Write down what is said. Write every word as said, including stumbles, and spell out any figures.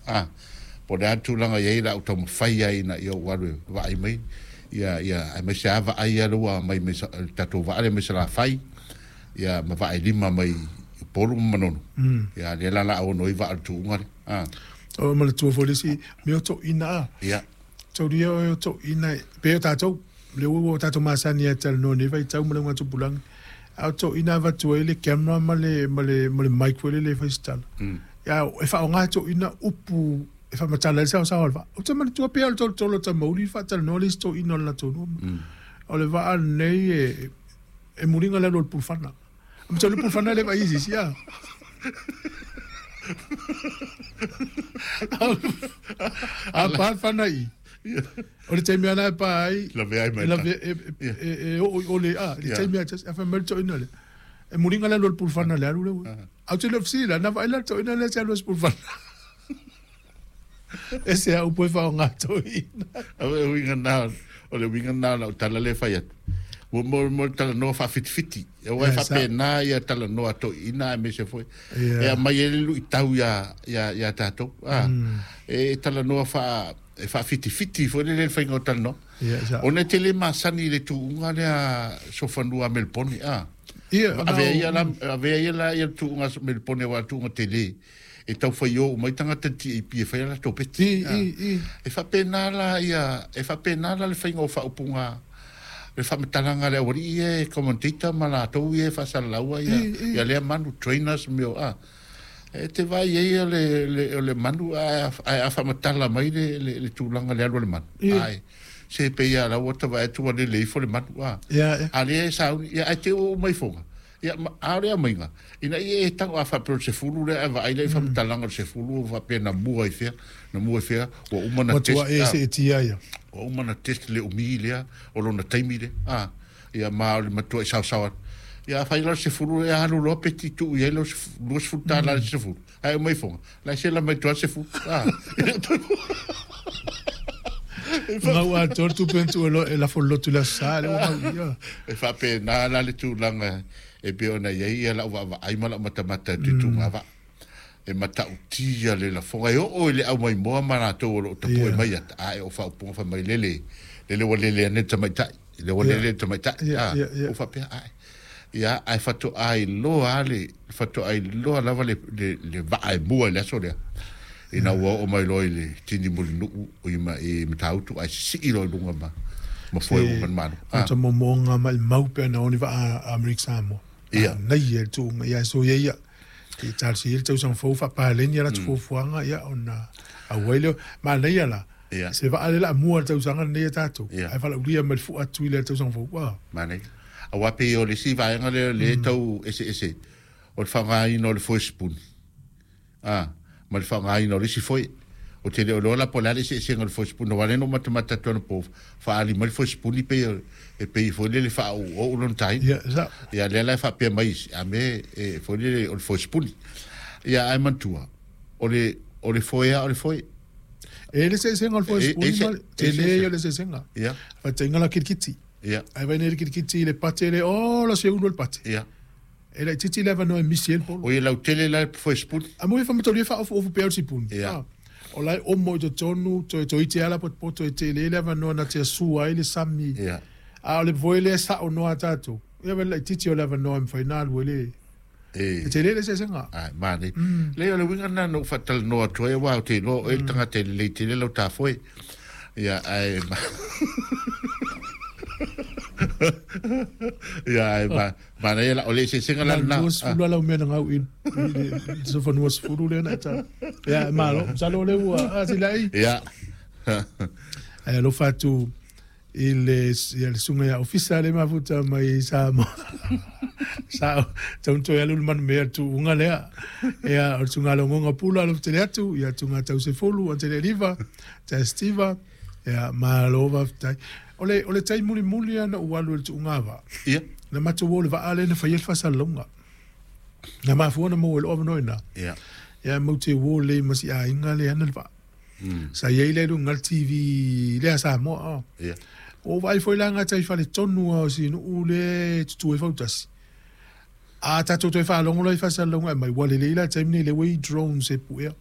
A po o le a le tulaga e i ai le a ou taumafai ai ina ia ou alu e vaai mai ia ia aemaise lava vaai ia lea ua aumai mai le tatou vaa lea mai Salafai ia ma vaa e lima mai Upolu ma Manono. Ia lea la o le a ono ai vaa o le tuuga lea. A. O manatua foi le isi mea o toeaiina a. Ia. Taulia oe o toeaiina pei o tatou, lea ua tatou masani e talanoa i lenei vaitau ma le augatupulaga, a o toeaiina avatu ai le camera ma le, ma le, ma le mic foi lele e fai se tala. Ia, e faaaoga e toeaiina upu e faamatala ai le saosaoa o le vaa. Ou te manatua pea o le tolotolo o Tamauli i faatalanoa le isi toeaina o le latou nuu. O le vaa lenei e, e muliga le alu o le pulufana. Masalo le pulufana e le vaai i se isi, a. A pa le fana i i, o le taimi lava lena e pa ai, e, e, e, e oo i o le, a, le taimi lava tasi, a fai mai le toeaina lea, e muliga le alu o le pulufana i le alu lea ua. Ae ou te le o fesili la, na vaai la le toeaina lea i se alu a se pulufana. Ese a upu e faaaoga toeaina. O le uiga lena, o le uiga lena o lau tala lea e fai atu. Ua mo, mo le talanoa faafitifitii. Aua e faapena ia talanoa a toeaiina aemaise foi e aumai ai le luitau ia, ia, ia tatou. A, e talanoa faa, e faafitifiti foi lele le faiga o talanoa. Ona e te le masani i le tuuga lea sofanua a Melepone. A, avea ia la, avea ia la ia le tuuga a Melepone aua o le tuuga tele. E tau faio uma ai tagata i le T A P e fai a latou peti. E faapena la ia, e faapena la le faiga o faaupuga le faamatalaga a le aualii ia e commentator ma latou ia e faasalalaua ia, ia lea manu, trainers mea o, a. E te vaai ai o le, le, o le manu, ae a faamatala mai le, le, le tulaga le alu a le manu. Ae, se pei lava la ua ta vaai atu ua lele ifo le manu, a. A lea e sauni, ia, ae te i ua uma ifoga. Ia, a o le aumaiga, ina ia e tago a faapea o le sefulu lea, ae vaai lea i faamatalaga o le sefulu ua faapea na mua i fea, na mua i fea, ua uma na test. Ua e seetia ia. Ua uma na test le umi lea, o lona taimi lea. A, ia ma o le matua i saosao atu. Ia afai la o le sefulu lea, alu loa peti tuu i ai lau luasefulu tala i le sefulu, ae uma ifoga, la e sela mai tua le sefulu. A. Gau atoa le tupe na tuu e lafo lotu i le Aso Sa, lea ua gau ia. E faapena la le tulaga e pei ona i ai lau vaavaai ma lau matamata i le tutuga vaa. E matautia le lafoga e oo i le aumaimoa ma latou o lo o tapue mai ata, a e o faaupuga fai mai lele, lele ua lele ane le tamaitai, lele ua lele le tamaitai, a, ua faapea, ae. Ia, ae faatoa iloa le, faatoa iloa lava le, le, le vaa e mua i le aso lea. Ina ua oo mai loa i le tini mulinuu i, ma, i Matautu, ae sisii loa i luga ma, ma foe uma le Malo. O ta momoga maimau pe ana o ni vaa a Amerika Samoa. Ia. Nei e le tuuga, ia so ia ia. Te talosia ia le tausaga fou faapaleni a latou fuafuaga, ia ona auai lea. Manaia la, Ia. se vaa lea la mua le tausaga lenei a tatou. Ia. Ae valaaulia mai le fua atu i le tausaga fou. Ua. Manaia. Aua pei o le isi vaega lea lea tau eseese o le faaaogaina o le foe sipuni. A, ma le faaaogaina o le isi foe. O te le o loa la po o le a le eseesega o le foe sipuni, aua o lea na ou matamata atu anapo, faaali mai le foe sipuni pei e pei foi lele faaouou lona taina. Ia, sa. Ia, lea la e faapea mai isi, a me e foi lele o le foe sipuni. Ia, ae manatua, o le, o le foe lava o le foe. E le eseesega o le foe sipuni ma le tele ia o le eseesega. Ia. Faatainga la kilikiti. Ia. Ae vai nei le kilikiti i le pate le, oh, la se ulu o le pate. Ia. E laitiiti le avanoa e misi ai le polo. O ia lautele la le foe sipuni. A mo e whamatoria whaofu pea o le sipuni. Ia. Ah. O lai omo i totonu, toe toe iti ala potopoto e tele le avanoa na te asua ai le sami. Ia. A o le foe lea sao noa tātou. Ia wele laitiiti o le avanoa e mwhai nā lue le. E. E tele le eseesega. Ai, mani. Le o le uiga lena na ou faatalanoa atu ai, aua o te iloa oe le tagata e lelei tele lau tafoe. Ia, ae ma Ia, ae ma manaia la, o le eseesega la lena. Na luasefulu lava lau mea na gau i le sofanua sefulu lea na e tala. Ia, malo, masalo o lea ua, a, silai. Ia. Ae alofa atu i le, ia le susuga ia Ofisa le mafuta mai i Samoa. Sa tau toe alu le manu mea le tuuga lea. Ia, o le susuga logoga pula alofa tele atu, ia tunga tau sefulu, o tele liva, te Steva, ia, malo faafetai. O le, o le tai mulimuli lava na ou alu i le tuuga vaa. Ia. Na matou o le vaa lea na fai ai le faasalalauga. Na mafua na maua ai lou avanoa i ina. Ia. Ia, mau te uo lelei ma si aiga lea ana le vaa. Sa i ai lea i luga o le T V lea a Samoa. Ia. Ua ou vaai foi la gata i faletonu lava o si nuu lea e tutu ai fautasi. A tatou toe faalogo loa i faasalalauga e aumai, ua lelei la le taimi nei lea ua i ai drones e puea.